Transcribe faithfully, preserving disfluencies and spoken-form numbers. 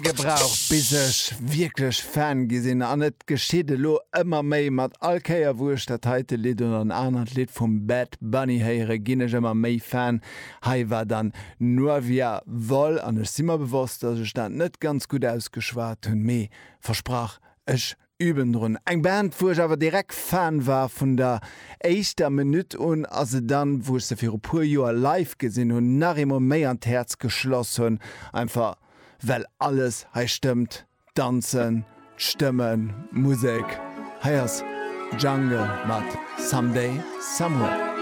Gebraucht bis ech wierklech Fan gi sinn an et geschitt elo ëmmer méi mat all Kéier wou ech dat heite Lidd oder en anert Lidd vum Bad Bunny héiere ginn ech ëmmer méi Fan. Hei war dann Nuevia Vol an ech si mer bewosst, dass ech dat net ganz gutt ausgeschwat hunn, mee versprach ech üben drun. Eng Band wou ech awer direkt Fan war vun der éischter Minutt un a se dann wou ech se viru puer Joer live gesinn hunn nach eemol méi an d'Häerz geschloss hunn, einfach well alles hei stëmmt, Danzen, d'Stëmmen, Musek. Hei ass Jungle mat Someday Somewhere.